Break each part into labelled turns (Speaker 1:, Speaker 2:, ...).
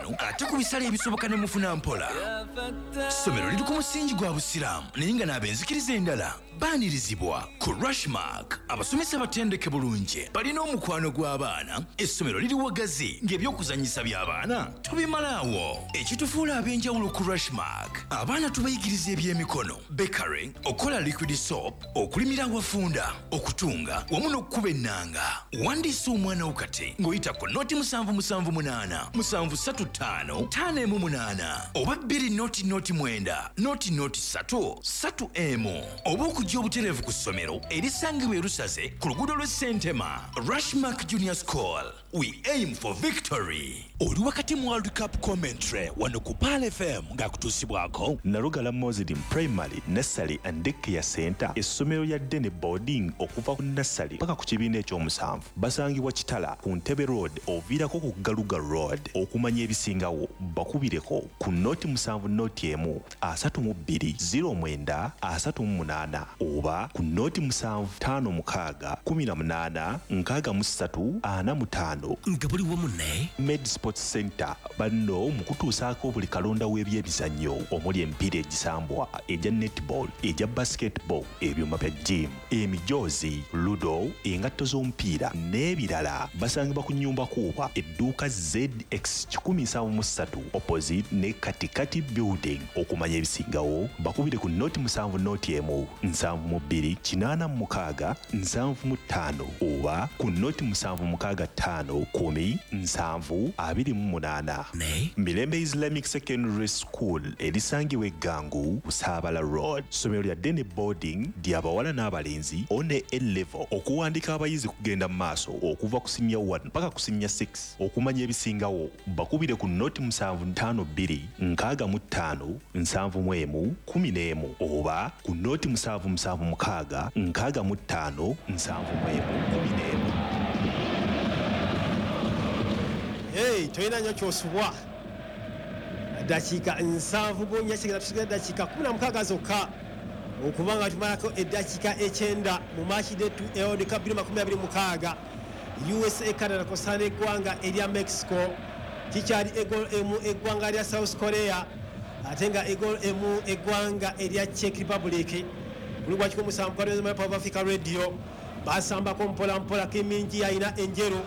Speaker 1: Etaano ate ku bisale ebisoboka ne mufuna mpola. Ssomero liri ku musingi gwa Busiraamu naye nga n'ab'enzikiriza endala baanirizibwa. Ku Rushmark abasomesa batendeke bulungi, balina omukwano gw'abaana, essomero liri wagazi ng'ebyokuzannyisa by'abaana tobimalaawo. Ekitufuula ab'enjawulo ku Rushmark, abaana tubayigiriza ebyemikono, bakery, okukola liquid soap, okulimira awafunda, okutunga wamu n'okukuba ennanga. Wandiisa omwana wo kati ng'oyita ku 077 735 518 oba 2 0 0 9 0 3 3 1 oba okujja obutereevu ku ssomero erisangibwa e Lusaze ku luguudo lw'e Ssentema. Rushmark Junior School, we aim for victory. Oli wakati mu World Cup commentary wano ku Pearl FM ng'akutuusibwako
Speaker 2: Nalugala Muslim Primary Nursery and Daycare Center, essomero lya day boarding okuva ku nursery paka ku kibiina ekyomusanvu. Basangibwa Kitala ku Ntebe Road oviirako ku Galuga Road. Okumanya ebisingawo bakubireko ku 0 7 0 1 32 09 38 oba ku 0 7 5 6 18 63 45.
Speaker 1: Nga buli wamu ne
Speaker 2: Med Sports Center banno mu kutuusaako buli kalonda w'ebyemizannyo omuli emipiira egisambwa, egya netball, egya basketball, ebyuma bya gym, emijoozi, ludo, engatto z'omupiira n'ebirala. Basangibwa ku Nyumba Kuuba, edduuka ZX 173, opposite ne Katikati Building. Okumanya ebisingawo bakubire ku 0 7 0 1 72 86 75 oba ku 0 7 6 5 10 7 28.
Speaker 1: Ne
Speaker 2: Mirembe Islamic Secondary School erisangibwa Eggangu, Busaabala Road, ssomero lya day boarding ly'abawala n'abalenzi one A level. Okuwandika abayizi kugenda mu maaso okuva ku senior 1 paka ku senior 6. Okumanya ebisingawo bakubire ku 0 7 5 2 65 71 11 oba ku 0 7 7 6 65 71 11.
Speaker 3: Hey, tolina nnyo kyosubwa. Dakiika 74 kigenda tusigala dakiika 16 zokka okuba nga tumalako eddakiika 90 mu match day 2 World Cup 2026, USA Canada kosaana eggwanga erya Mexico. Kikyali egol emu eggwanga lya South Korea, ate nga egol emu eggwanga erya Czech Republic. Buli gwa 107 Africa Radio. Basambako mpola mpola. Kimingi alina enjeru.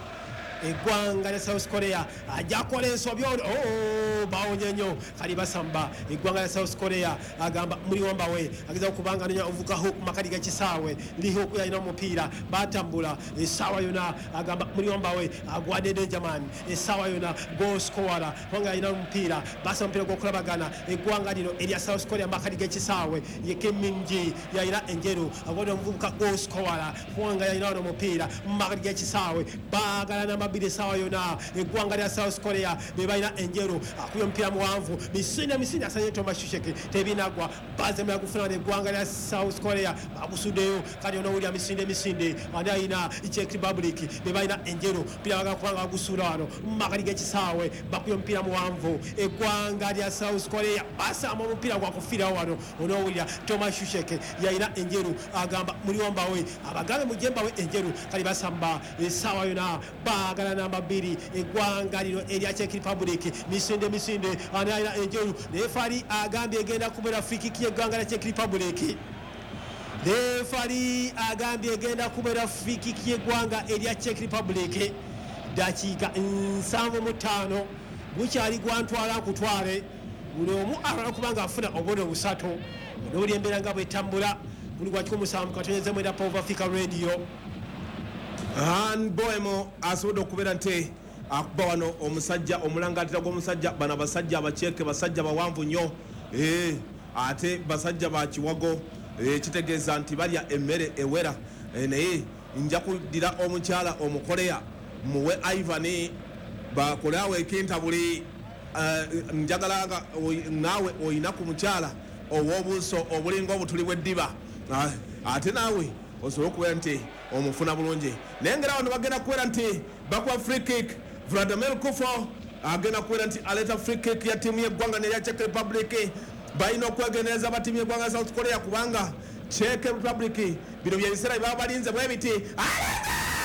Speaker 3: Eggwanga lya South Korea ajja kukola ensobi ono. Oh, bawonye nnyo. Kali basamba eggwanga lya South Korea. Agamba muli wambawe ageza okubanga anonya ovuka hook makati gakisaawe. Lihok yalina omupiira, batambula essaawa yona. Agamba muli wambawe agwadde Dangerman essaawa yona, goal scorer kubanga alina omupiira. Basa omupiira gwokulabagana eggwanga lino erya South Korea makati g'ekisaawe. Ye Keminji yalina enjeru, agwadde omuvubuka goal scorer kubanga yalina wano omupiira mu makati g'ekisaawe. Baagala namba 2 essaawa yona. Eggwanga lya South Korea be balina enjeru. Akubye omupiira muwanvu, misinde misinde, asanye Thomas Soucek, tebinagwa. Bazemera gufuna eggwanga lya South Korea, bagusuddeyo. Kati onowulira misinde misinde, ani alina? Czech Republic be balina enjeru. Mpira bagala kubanga bagusuula wano mu makati g'ekisaawe. Bakubye omupiira muwanvu. Eggwanga lya South Korea basamba omupiira gwakufiirawo wano. Onowulira Thomas Soucek yalina enjeru, agamba muli wambawe, abagambe mujje mbawe enjeru. Kali basamba essaawa yona, baagala namba 2 eggwanga lino erya Czech Republic. Misinde misinde, ani alina enjeru? Referee agambye egenda kubeera free kick y'eggwanga lya Czech Republic. Referee agambye egenda kubeera free kick y'eggwanga erya Czech Republic. Dakiika 75, gukyali gwantwala nkutwale, buli omu alala kubanga afuna obubonero busatu. Onowuli embeera nga bwetambula buli gwa 107.9 Power Africa Radio.
Speaker 4: Han Boemo asobodde okubeera nti akuba wano omusajja omulangatira gw'omusajja. Bano abasajja abakyeke basajja bawanvu nnyo, ate basajja bakiwago. Kitegeeza nti balya emmere ewera. Naye nja kuddira omukyala Omukoleya muwe Ivan bakole awo ekintabuli. Njagala nga naawe oyina ku mukyala ow'obuuso obulinga obutuli bw'eddiba. Ate naawe osobole okubeera nti omufuna bulungi. Naye ngera wano bagenda kubeera nti bakuba free kick. Vladimir Coufal agenda kubeera nti aleeta free kick ya ttiimu y'eggwanga nerya Czech Republic. Balina okwegendereza ba ttiimu y'eggwanga ya South Korea, kubanga Czech Republic bino byebiseera byebaba balinze bwe biti.